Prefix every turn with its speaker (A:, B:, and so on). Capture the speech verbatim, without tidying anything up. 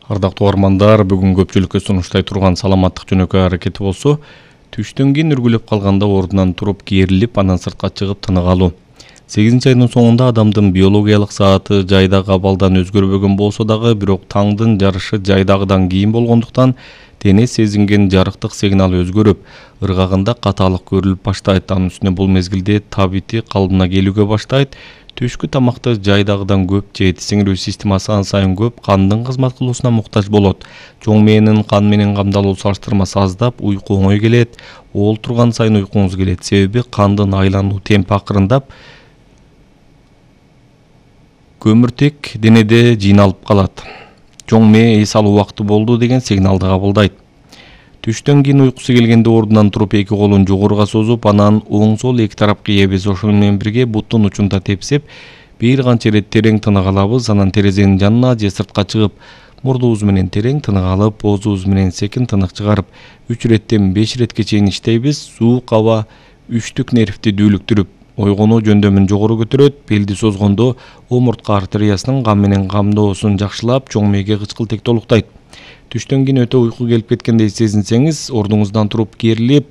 A: Ардактуу угармандар, бүгүн көпчүлүккө сунуштай турган саламаттык жөнөкөй аракети болсо, түштөн кийин үргүлөп калганда ордунан туруп керилип, анан сыртка чыгып тынык алуу. сегизинчи айдын соңунда адамдын биологиялык сааты жайдагы абалдан өзгөрбөгөн болсо дагы, бирок таңдын жарышы жайдагыдан кийин болгондуктан дене сезинген жарыктык сигнал өзгөрүп, ыргагында катаалык көрүлүп баштайт. Анын үстүнө бул мезгилде табити калыбына келүүгө баштайт. Түшкү тамакты жайдагыдан көп жейт, сиңирүү системасы ан сайын көп кандын кызмат кылуусуна муктаж болот. Чоң мээнин кан менен камдалуу салыштырмасы аздап, уйку оңой келет. Оол турган сайын уйкуңуз келет, себеби кандын айлануу темпи акырындап, көмүртек денеде жыйналып калат. Чоң мээ эс алуу убакыты болду деген сигналды кабылдайт. Түштөн кийин уйкусу келгенде ордунан туруп эки колун жогоруга созуп, анан оң сол эки тарапка эбиз. Ошону менен бирге буттун учунда тепсеп, бир канча ирет терең тынык алабыз. Анан терезенин жанына же сыртка чыгып, мурдубуз менен терең тынык алып, оозубуз менен секин тынык чыгарып, үч иреттен беш иретке чейин иштейбиз. Суук аба үчтүк нервти дүүлүктүрүп, ойгонуу жөндөмүн жогору көтөрөт. Белди созгондо омуртка артериясынын кан менен камдоосун жакшылап, чоң мээге кычкылтек толуктайт. Түштөн кийин өтө уйку келип кеткендей сезинсеңиз, ордуңуздан туруп керилип,